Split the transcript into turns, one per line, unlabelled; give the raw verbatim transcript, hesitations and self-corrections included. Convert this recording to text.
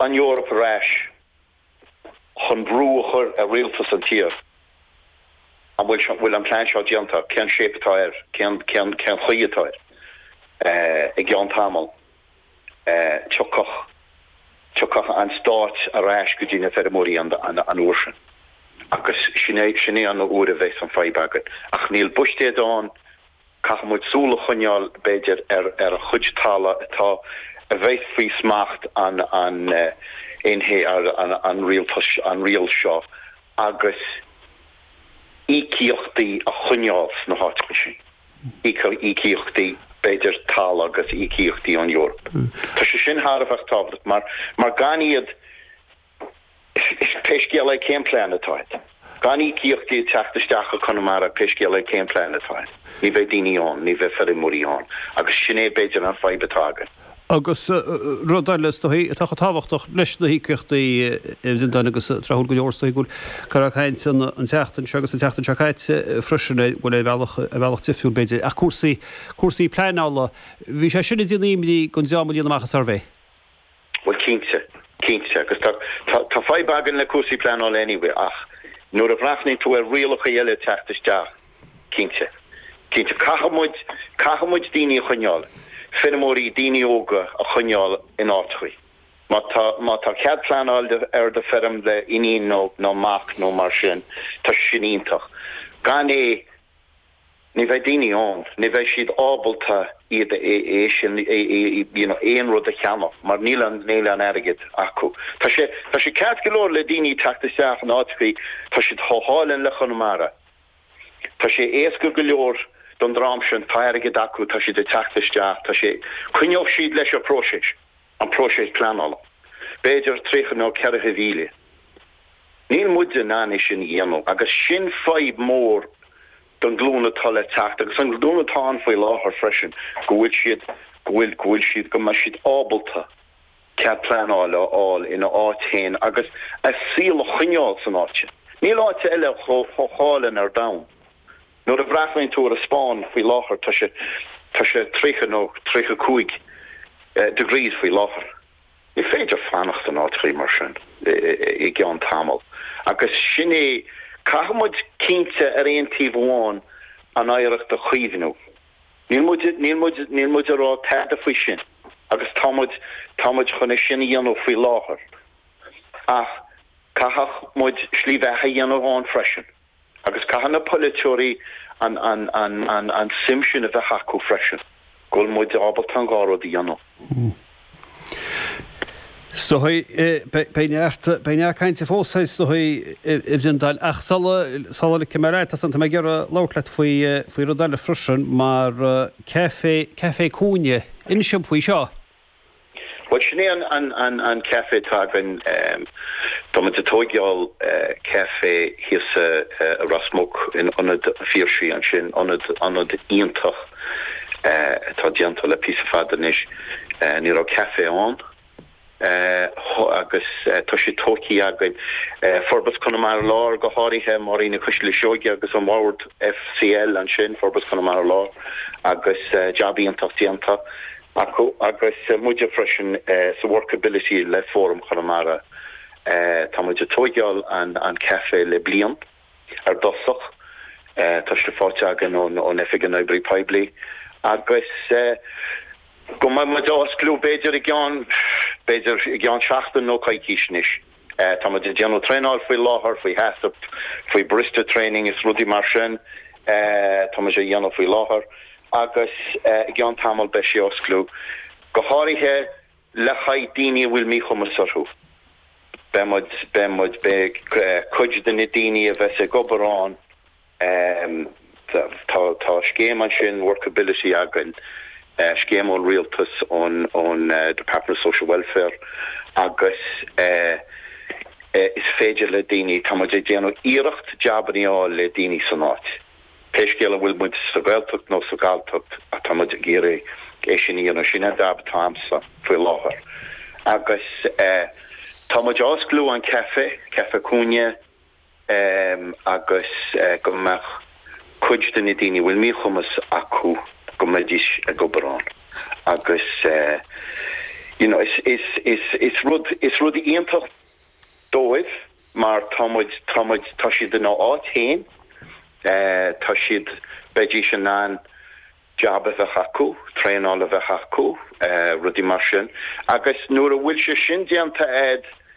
an Eoraip ar ais chun brú a chur ar rialtas an tír. An bhfuil seo bhfuil an plean seo déanta, cén shape atá air, cén cén cén chaoi atá air i gceann tamall tiocfaidh tiocfaidh an stát ar ais go dtí na feirmeoirí an an an uair sin. Agus sin é sin é an uair a bheas an fadhb againn. Ach níl buiséad ann caithfidh muid súil a choinneáil b'fhéidir ar ar a chuid talamh atá a bheith faoi smacht an an NH an an rialtas an riail seo agus íocaíochtaí a choinneáil sna háiteacha sin. Íocaíochtaí b'fhéidir talamh agus íocaíochtaí ón Eoraip. Tá sé sin thar a bheith tábhachtach mar mar gan iad pé scéal é cén plean atá agat. Gan íocaíochtaí teacht isteach go Conamara pé scéal é cén plean atá agat. Ní bheidh daoine ann, ní bheidh feirmeoirí ann, agus sin é b'fhéidir an fadhb atá againn.
Agus rud eile is dóichí atá tábhachtach leis na híocaíochtaí den agus tráthúil go leor is dóichí go bhfuil caint an an tseachtain seo agus an tseachtain seo caite freisin bhfuil ar bhealach ar bhealach difriúil b'fhéidir ach cúrsaí cúrsaí pleanála bhí sé sin ag déanamh imní don dream a líon amach an suirbhé.
Well cinnte, cinnte, agus tá tá tá fadhb againn le cúrsaí pleanála anyway ach nuair a bhreathnaíonn tú ar rialacha eile teacht isteach cinnte. Cinnte caithfidh muid caithfidh muid daoine a choinneáil, feirmeoirí daoine óga a choinneáil in áiteacha. Má tá má tá cead pleanáil ar do feirm le iníon nó nó mac nó mar sin, tá sin iontach. Gan é ní bheidh daoine ann, ní bheidh siad ábalta iad é sin you know, aon rud a cheannach, mar níl an níl an airgead acu. Tá sé tá sé ceart go leor le daoine teacht isteach in áiteacha, tá siad chomh hálainn le Conamara. Tá sé éasca go leor don dream sin tá airgead acu tá siad ag teacht isteach, tá sé coinneoidh siad leis an próiseas, an próiseas pleanála. B'fhéidir tríocha nó ceathracha mhíle. Níl muid in ann é sin a dhéanamh agus sin fadhb mór don ghlúin atá le teacht agus an glúin atá ann faoi láthair freisin go bhfuil siad go bhfuil go bhfuil siad go mbeidh siad ábalta cead pleanála a fháil ina áit féin agus a saol a choinneáil san áit sin. Níl áit eile chomh hálainn ar domhan. Nuair a bhreathnaíonn tú ar an Spáinn faoi láthair tá sé tá sé tríocha nó tríocha cúig degrees faoi láthair. Ní féidir fanacht in áit mar sin i gceann tamall. Agus sin é caithfidh muid cinnte ar aon taobh amháin an oidhreacht a chaomhnú. Níl muid níl muid níl muid a rá tada faoi sin, agus tá muid tá muid chun é sin a dhéanamh faoi láthair. Ach caithfidh muid slí bheatha a dhéanamh ann freisin. Agus caithfidh na polaiteoirí an an an an an suim sin a bheith acu freisin. Go bhfuil muid ábalta an dhá rud a dhéanamh.
So beidh neart beidh neart cainte fós so i bhDal ach sula sula ligfidh mé leat tá mé ag iarraidh labhairt leat faoi faoi rud eile freisin mar caife caife cúinne inis dom faoi seo.
Well sin é an an an an caife atá againn tá muid ag tógáil caife thíos i Ros Muc in Ionad Phiarsaigh ansin ionad ionad iontach atá déanta le píosa fada anois ní raibh caife ann agus tá sé tógtha againn Forbairt Chonamara Láir go háirithe Máirín Cuisle Seoige agus an Bord FCL ansin Forbairt Chonamara Láir agus jab iontach déanta acu agus muide freisin sa workability le Fóram Chonamara tá muid ag tógáil an an caife le bliain ar dosach tá sé faighte againn ón ón Oifig an Oibrí Poiblí agus go mbeidh muid osclú b'fhéidir i gceann b'fhéidir i gceann seachtain nó coicís anois. Tá muid ag déanamh traenáil faoi láthair faoi HACCP faoi barista training is rudaí mar sin tá muid a dhéanamh faoi láthair agus i gceann tamall beidh sé osclú go háirithe le haghaidh daoine a bhfuil míchumas orthu. Beidh muid beidh muid beidh cuid de na daoine a bheas ag obair ann tá tá scéim ansin workability againn scéim ón rialtas ón ón Department of Social Welfare agus is féidir le daoine tá muid ag déanamh iarracht jabanna a fháil le daoine san áit. Pé scéal an bhfuil muid sa Ghaeltacht nó sa Ghalltacht atá muid ag iarraidh é sin a dhéanamh sin an jab atá agamsa faoi láthair. Agus tá muid osclú an caife, caife cúinne agus go mbeadh cuid de na daoine bhfuil míchumas acu go mbeidís ag obair ann. Agus You know, is is is is rud is rud iontach dóibh mar tá muid tá muid tá siad ina áit féin eh, tá siad beidís in ann job a bheith acu, traenáil a bheith acu, eh, rudaí mar sin. Agus nuair a bhfuil sé sin déanta a'd